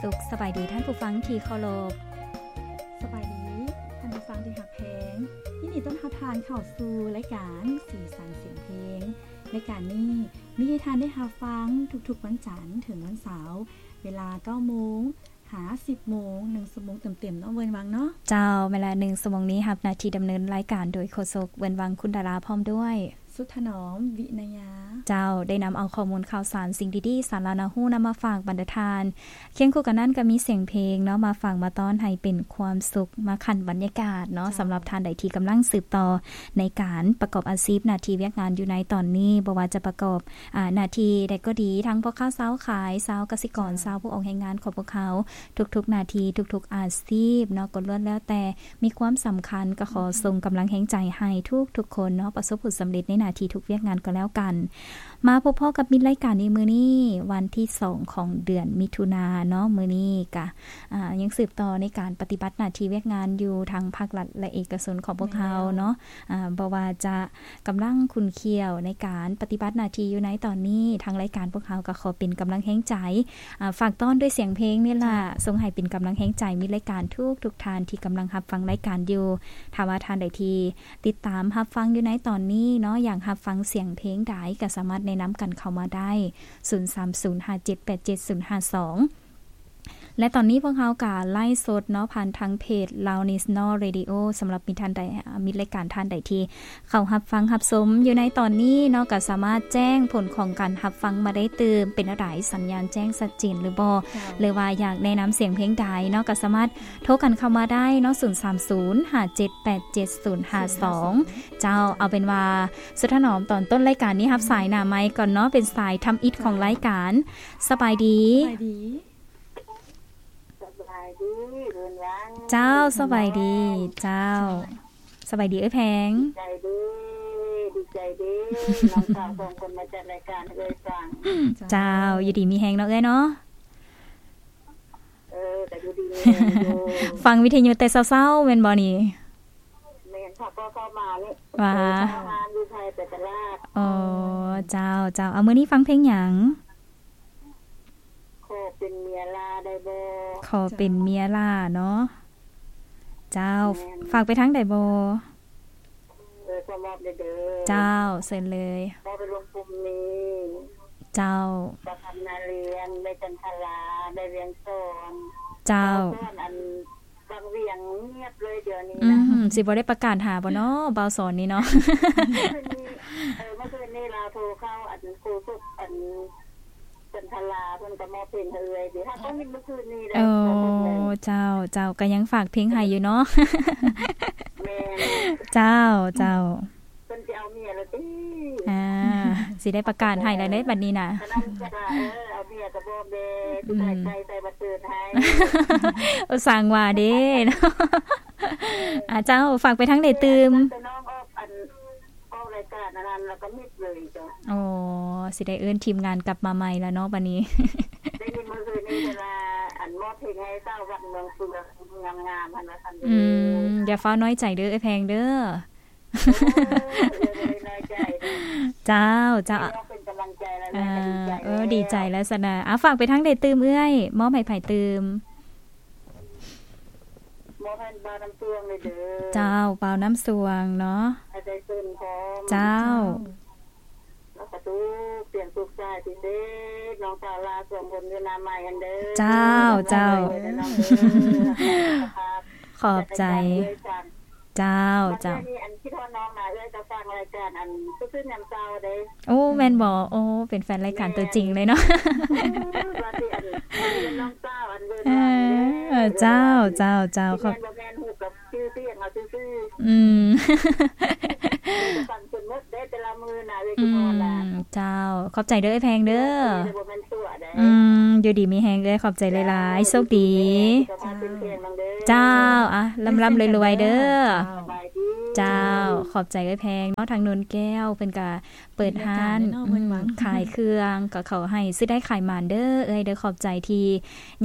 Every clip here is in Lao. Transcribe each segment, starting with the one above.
ສຸກສະບາຍດີທ່ານຜູ້ຟັງທີ່ເຄົາລົບ. ສະບາຍດີທ່ານຜູ້ຟັງທີ່ຮັກແພງ. ຍິນດີຕ້ອນຮັບທ່ານເຂົ້າສູ່ລາຍການສີສັນສຽງເພງ. ລາຍການນີ້ມີໃຫ້ທ່ານໄດ້ຮັບຟັງທຸກໆວັນຈັນເຖິງວັນເສົາ ເວລາເກົ້າໂມງຫາສິບໂມງ, ໜຶ່ງຊົ່ວໂມງເຕັມໆເນາະ ເວີນວັງເນາະ. ເຈົ້າ, ເວລາໜຶ່ງຊົ່ວໂມງນີ້ຮັບໜ້າທີ່ດຳເນີນລາຍການໂດຍໂຄສົກ ເວີນວັງ ຄຸນດາລາ ພ້ອມດ້ວຍ ສຸດຖະໜອມ ວິນະຍາ. ເຈົ້າ, ໄດ້ນຳເອົາຂໍ້ມູນຂ່າວສານ, ສິ່ງດີໆ, ສາລະໜ້າຮູ້ນຳມາຝາກບັນດາທ່ານ. ຄຽງຄູ່ກັນນັ້ນກໍມີສຽງເພງເນາະ ມາຝາກມາຕ້ອນໃຫ້ເປັນຄວາມສຸກ, ມາຂັນບັນຍາກາດເນາະ. ເຈົ້າ. ສຳລັບທ່ານໃດທີ່ກຳລັງສືບຕໍ່ໃນການປະກອບອາຊີບໜ້າທີ່ວຽກງານຢູ່ໃນຕອນນີ້, ບໍ່ວ່າຈະປະກອບ ອາ ໜ້າທີ່ໃດກໍດີ, ທັງພໍ່ຄ້າຊາວຂາຍ, ຊາວກະສິກອນ, ເຈົ້າ. ຊາວຜູ້ອອກແຮງງານຂອງພວກເຮົາ, ທຸກໆໜ້າທີ່, ທຸກໆອາຊີບເນາະ ກໍລ້ວນແລ້ວແຕ່ ມີຄວາມສຳຄັນ. ກໍຂໍ ອືມ ສົ່ງກຳລັງແຮງໃຈໃຫ້ທຸກໆຄົນເນາະ ປະສົບຜົນສຳເລັດໃນໜ້າທີ່ທຸກວຽກງານກໍແລ້ວກັນ. ມາພົບພໍ້ກັບມິດລາຍການໃນມື້ນີ້ ວັນທີສອງຂອງເດືອນມິຖຸນາເນາະ. ມື້ນີ້ກະ ອາ ຍັງສືບຕໍ່ໃນການປະຕິບັດໜ້າທີ່ວຽກງານຢູ່ທາງພາກລັດ ແລະ ເອກະຊົນຂອງພວກເຮົາເນາະ. ແມ່ນແລ້ວ. ອາ ບໍ່ວ່າຈະກຳລັງຂຸ້ນຂ້ຽວໃນການປະຕິບັດໜ້າທີ່ຢູ່ໃນຕອນນີ້, ທາງລາຍການພວກເຮົາກໍຂໍເປັນກຳລັງແຮງໃຈ ອາ ຝາກຕ້ອນດ້ວຍສຽງເພງນີ້ລະ ເຈົ້າ. ສົ່ງໃຫ້ເປັນກຳລັງແຮງໃຈມິດລາຍການທຸກໆທ່ານທີ່ກຳລັງຮັບຟັງລາຍການຢູ່. ຖ້າວ່າທ່ານໃດທີ່ຕິດຕາມຮັບຟັງຢູ່ໃນຕອນນີ້ເນາະ, ຢາກຮັບຟັງສຽງເພງໃດ ກໍສາມາດແນະນຳກັນເຂົ້າມາໄດ້ ສູນສາມສູນຫ້າເຈັດແປດເຈັດສູນຫ້າສອງ ແລະ ຕອນນີ້ພວກເຮົາກໍໄລຟ໌ສົດເນາະ ຜ່ານທາງເພຈ Lao National Radio. ສຳລັບມີທ່ານໃດ ອາ ມີລາຍການທ່ານໃດທີ່ ເຂົ້າຮັບຟັງຮັບຊົມຢູ່ໃນຕອນນີ້ເນາະ ກໍສາມາດແຈ້ງຜົນຂອງການຮັບຟັງມາໄດ້ຕື່ມ. ເປັນແນວໃດ? ສັນຍານແຈ້ງຊັດເຈນຫຼືບໍ່? ເຈົ້າ. ຫຼືວ່າຢາກແນະນຳສຽງເພງໃດເນາະ ກໍສາມາດໂທກັນເຂົ້າມາໄດ້ເນາະ ສູນສາມສູນຫ້າເຈັດແປດເຈັດສູນຫ້າສອງ. ເຈົ້າ, ເອົາເປັນວ່າ ສຸດຖະໜອມ ຕອນຕົ້ນລາຍການນີ້ຮັບສາຍໜ້າໄມກ່ອນເນາະ, ເປັນສາຍທຳອິດຂອງລາຍການ. ສະບາຍດີ. ສະບາຍດີ. ສະບາຍດີ ເພິ່ນວ່າ. ເຈົ້າ, ສະບາຍດີ. ເຈົ້າ. ສະບາຍດີເອື້ອຍແພງ. ດີໃຈເດ້ ດີໃຈເດ້ ນ້ອງສາວສອງຄົນມາຈັດລາຍການໃຫ້ເອື້ອຍຟັງ. ເຈົ້າ, ເຈົ້າ, ຢູ່ດີມີແຮງເນາະເອື້ອຍເນາະ. ເອີ, ກໍຢູ່ດີມີແຮງຢູ່. ຟັງວິທະຍຸແຕ່ເຊົ້າໆ ແມ່ນບໍ່ນີ້? ແມ່ນ, ເຂົ້າກໍເຂົ້າມານີ້. ວ່າ ເຂົ້າງານຢູ່ໄທໄປຕະຫຼາດ. ອໍ, ເຈົ້າ, ເຈົ້າ. ເອົາ, ມື້ນີ້ຟັງເພງຫຍັງ? ຂໍເປັນເມຍຫຼ້າໄດ້ບໍ່? ຂໍເປັນເມຍຫຼ້າເນາະ. ເຈົ້າ. ແມ່ນ. ຝາກໄປທາງໃດບໍ່? ເອີ, ຂໍມອບເດີ. ເຈົ້າ, ເຊີນເລີຍ. ມອບໄປລຸງປຸ້ມມີ. ເຈົ້າ. ປະຄຳນາລຽນ, ແມ່ຈັນທະລາ, ແມ່ວຽງສອນ. ເຈົ້າ. ສອນອັນ ວັງວຽງງຽບເລີຍດຽວນີ້ນະ. ອືມ, ຊິບໍ່ໄດ້ປະກາດຫາບໍ່ເນາະ ບ່າວສອນນີ້ເນາະ? ເມື່ອຄືນນີ້, ເອີ, ເມື່ອຄືນນີ້ລາວໂທເຂົ້າ ອັນ ຄູສຸກ ອັນ ຈັນທະລາ ເພິ່ນກໍມອບເພງໃຫ້ເອື້ອຍເດ. ຫາກໍຍິນເມື່ອຄືນນີ້ແຫຼະ. ໂອ້, ເຈົ້າ, ເຈົ້າ, ກໍຍັງຝາກເພງໃຫ້ຢູ່ເນາະ. ແມ່ນ. ເຈົ້າ, ເຈົ້າ. ເພິ່ນຊິເອົາເມຍແລ້ວຕິ? ອ່າ, ຊິໄດ້ປະກາດໃຫ້ແລ້ວເດ້ບັດນີ້ນະ. ກະນັ້ນກະວ່າ ເອີ, ເອົາເມຍກະບອກແດ່, ຊິຂາຍໄກ່ໃສ່ບັດເຕີນໃຫ້. ໂອ້, ສ້າງວ່າເດ້. ອ່າ, ເຈົ້າ, ຝາກໄປທາງໃດຕື່ມ? ແຕ່ນ້ອງອອກ ອັນ ອອກລາຍການອັນນັ້ນ ແລ້ວກໍມິດເລີຍເຈົ້າ. ອໍ, ຊິໄດ້ເອີ້ນທີມງານກັບມາໃໝ່ແລ້ວເນາະບັດນີ້. ໄດ້ຍິນມື້ຄືນນີ້ເພິ່ນວ່າ ອັນ ມອບເພງໃຫ້ສາວວັດເມືອງເຟືອງງາມໆ ຫັ້ນວ່າຊັ້ນເດີ. ອືມ, ຢ່າຟ້າວນ້ອຍໃຈເດີ ເອື້ອຍແພງເດີ. ໂອ້, ເອື້ອຍບໍ່ໄດ້ນ້ອຍໃຈເດີ. ເຈົ້າ, ເຈົ້າ. ນ້ອງເປັນກຳລັງໃຈແລ້ວ. ອ່າ, ເອື້ອຍກໍດີໃຈແລ້ວ. ເອີ, ດີໃຈແລ້ວຊັ້ນນະ. ອ່າ, ຝາກໄປທາງໃດຕື່ມເອື້ອຍ? ມອບໃຫ້ໃຜຕື່ມ? ມອບໃຫ້ບ່າວນ້ຳຊວງເລີຍເດີ. ເຈົ້າ, ບ່າວນ້ຳຊວງເນາະ. ໃຫ້ໄດ້ເຊີນພ້ອມ. ເຈົ້າ. ເຈົ້າ. ແລ້ວກະທຸກສຽງທຸກສາຍພິເສດ ນ້ອງສາວຫຼ້າສອງຄົນຢູ່ໜ້າໄມຫັ້ນເດີ. ເຈົ້າ, ເຈົ້າ. ຂອບໃຈ. ເຈົ້າ, ເຈົ້າ. ບັດເທື່ອນີ້ ອັນ ຄິດຮອດນ້ອງນະ ເອື້ອຍກໍຟັງລາຍການ ອັນ ຊື່ນຍາມເຊົ້າເດ້. ໂອ້, ແມ່ນບໍ່? ໂອ້, ເປັນແຟນລາຍການຕົວຈິງເລີຍເນາະ. ວ່າຊິ ອັນ ເປັນນ້ອງສາວ ອັນ ເວີນ ເອີ, ເຈົ້າ, ເຈົ້າ, ເຈົ້າ. ຂອບ ແມ່ນບໍ່ແມ່ນ ຮູ້ກັບ ຊື່ສຽງເຮົາຊື່ໆ. ອືມ. ຟັງຈົນໝົດເດ້ແຕ່ລະມື້ນະ ເອື້ອຍ ອືມ, ເຈົ້າ. ຂອບໃຈເດີ ເອື້ອຍແພງເດີ. ບໍ່ແມ່ນຕົວະເດ້. ອືມ, ຢູ່ດີມີແຮງເອື້ອຍ. ຂອບໃຈຫຼາຍໆ. ໂຊກດີ. ເຈົ້າ. ອ່າ, ລ່ຳໆລວຍໆເດີ. ສະບາຍດີ. ເຈົ້າ ຂອບໃຈເອື້ອຍແພງເນາະ ທາງໂນນແກ້ວ ເພິ່ນກະເປີດຮ້ານ ມີລາຍການແນ່ເນາະ ເພິ່ນວ່າ ອືມ ຂາຍເຄື່ອງ ກໍຂໍໃຫ້ຊື້ໄດ້ຂາຍໝານເດີເອື້ອຍເດີ ຂອບໃຈທີ່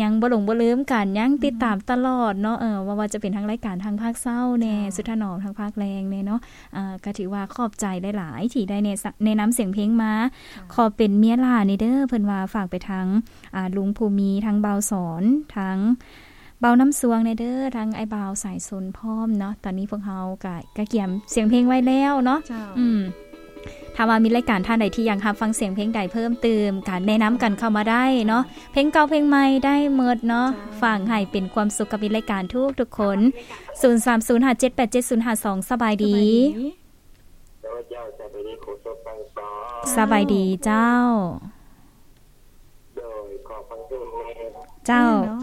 ຍັງບໍ່ຫຼົງບໍ່ລືມກັນ ຍັງຕິດຕາມ ອືມ ຕະຫຼອດເນາະ ເອີ ບໍ່ວ່າຈະເປັນທາງລາຍການທາງພາກເຊົ້າແນ່ ເຈົ້າ ສຸດຖະໜອມທາງພາກແລງແນ່ເນາະ ເອີ ກໍຖືວ່າຂອບໃຈຫຼາຍໆ ທີ່ໄດ້ແນ ແນະນຳສຽງເພງມາ ເຈົ້າ ຂໍເປັນເມຍຫຼ້າແນ່ເດີ ເພິ່ນວ່າຝາກໄປທາງ ອ່າ ລຸງພູມີ ທາງບ່າວສອນ ທາງບ່າວນ້ຳຊວງແນ່ເດີ ທາງອ້າຍບ່າວສາຍຊົນພ້ອມເນາະ ຕອນນີ້ພວກເຮົາກະ ກະກຽມສຽງເພງໄວ້ແລ້ວເນາະ ເຈົ້າ ອືມ ຖ້າວ່າມີລາຍການທ່ານໃດທີ່ຢາກຮັບຟັງສຽງເພງໃດເພີ່ມເຕີມ ກະແນະນຳກັນເຂົ້າມາໄດ້ເນາະ ເຈົ້າ ເພງເກົ່າເພງໃໝ່ໄດ້ໝົດເນາະ ເຈົ້າ ຝາກໃຫ້ເປັນຄວາມສຸກກັບມິດລາຍການທຸກໆຄົນ ສູນສາມສູນຫ້າເຈັດແປດເຈັດສູນຫ້າສອງ ສະບາຍດີ ສະບາຍດີ ໂດຍ ເຈົ້າ ສະບາຍດີ ໂຄສົກທັງສອງ ສະບາຍດີເຈົ້າ ໂດຍ ຂໍຟັງເພງແນ່ ເຈົ້າ ເນາະ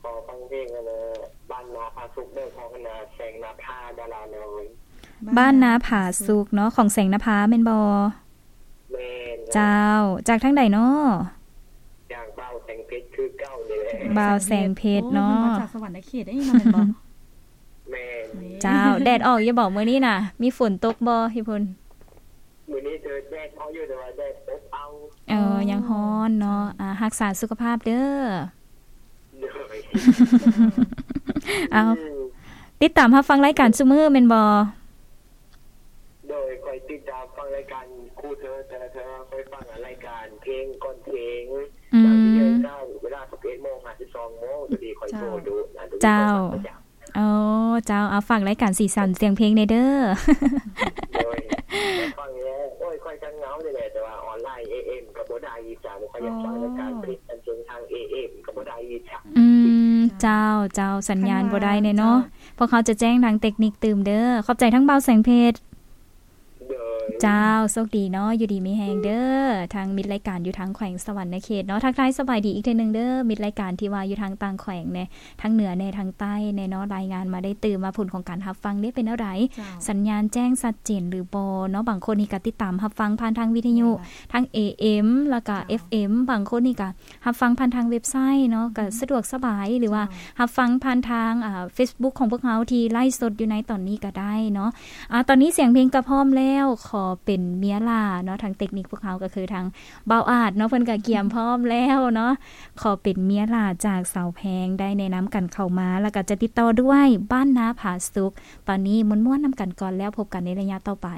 ຂໍຟັງເພງອັນນ່າ ບ້ານນາຜາສຸກເດີ ຂອງອັນນ່າ ແສງນະພາ ດາລານ້ອຍ ບ້ານນາຜາສຸກເນາະ ຂອງແສງນະພາແມ່ນບໍ່? ແມ່ນ ເຈົ້າ ຈາກທາງໃດເນາະ? ຈາກບ່າວແສງເພັດຄືເກົ່ານີ້ແຫຼະ ບ່າວແສງເພັດເນາະ ໂອ້ ເພິ່ນມາຈາກສະຫວັນນະເຂດເດ້ເນາະ ແມ່ນບໍ່? ແມ່ນ ເຈົ້າ ແດດອອກຢູ່ບໍ່ມື້ນີ້ນະ? ມີຝົນຕົກບໍ່ຢູ່ພຸ້ນ? ມື້ນີ້ເທີແດດເຮົາຢູ່ ແຕ່ວ່າແດດອົບເອົາ ເອີ ຍັງຮ້ອນເນາະ ອ່າ ຮັກສາສຸຂະພາບເດີ ໂດຍ ເອົາ ອືມ ຕິດຕາມຮັບຟັງລາຍການຊຸມື້ແມ່ນບໍ່? ໂດຍ ຂ້ອຍຕິດຕາມຟັງລາຍການຄູ່ເທີ ແຕ່ລະເທື່ອຂ້ອຍຟັງລາຍການເພງກ່ອນເພງ ອືມ ເວລາສິບເອັດໂມງຫາສິບສອງໂມງ ໂຕນີ້ຂ້ອຍໂທດູນະ ໂຕນີ້ຂ້ອຍຟັງປະຈຳ ເຈົ້າ ໂອ້ ເຈົ້າ ເອົາ ຝາກລາຍການສີສັນສຽງເພງແນ່ເດີ ໂດຍ ໄດ້ຟັງແລ້ວ ໂອ້ຍ ຂ້ອຍກະເຫງົານີ້ແຫຼະ ແຕ່ວ່າອອນລາຍ ເອເອັມ ກະບໍ່ໄດ້ອີກຈ້າ ຂ້ອຍຢາກຟັງລາຍການ ອໍ ເພງທາງ ເອເອັມ ກະບໍ່ໄດ້ອີກຈ້າ ອືມ ເຈົ້າ ເຈົ້າ ສັນຍານບໍ່ໄດ້ແນ່ເນາະ ເຈົ້າ ພວກເຮົາຈະແຈ້ງທາງເຕັກນິກຕື່ມເດີ ຂອບໃຈທາງບ່າວແສງເພັດ ໂດຍ ເຈົ້າ ໂຊກດີເນາະ ຢູ່ດີມີແຮງເດີ ທາງມິດລາຍການຢູ່ທາງແຂວງສະຫວັນນະເຂດເນາະ ທັກທາຍສະບາຍດີອີກເທື່ອໜຶ່ງເດີ ມິດລາຍການທີ່ວ່າຢູ່ທາງຕ່າງແຂວງແນ່ ທາງເໜືອແນ່ ທາງໃຕ້ແນ່ເນາະ ລາຍງານມາໄດ້ຕື່ມວ່າຜົນຂອງການຮັບຟັງເດ້ເປັນແນວໃດ ເຈົ້າ ສັນຍານແຈ້ງຊັດເຈນຫຼືບໍ່ເນາະ ບາງຄົນນີ້ກະຕິດຕາມຮັບຟັງຜ່ານທາງວິທະຍຸ ແມ່ນລະ ທາງ ເອເອັມ ແລ້ວກະ ເຈົ້າ ເອັຟເອັມ ບາງຄົນນີ້ກະ ຮັບຟັງຜ່ານທາງເວັບໄຊເນາະ ເຈົ້າ ກະສະດວກສະບາຍ ຫຼືວ່າ ເຈົ້າ ຮັບຟັງຜ່ານທາງ ອ່າ ເຟສບຸກຂອງພວກເຮົາທີ່ໄລຟ໌ສົດຢູ່ໃນຕອນນີ້ກະໄດ້ເນາະ ອ່າ ຕອນນີ້ສຽງເພງກະພ້ອມແລ້ວ ຂໍເປັນເມຍຫຼ້າເນາະ ທາງເຕັກນິກພວກເຮົາກະຄືທາງບ່າວອາດເນາະ ເພິ່ນກະກຽມພ້ອມແລ້ວເນາະ ຂໍເປັນເມຍຫຼ້າຈາກສາວແພງ ໄດ້ແນະນຳກັນເຂົ້າມາ ແລ້ວກະຈະຕິດຕໍ່ດ້ວຍບ້ານນາຜາສຸກ ຕອນນີ້ມ່ວນໆນຳກັນກ່ອນ ແລ້ວພົບກັນໃນໄລຍະຕໍ່ໄປ.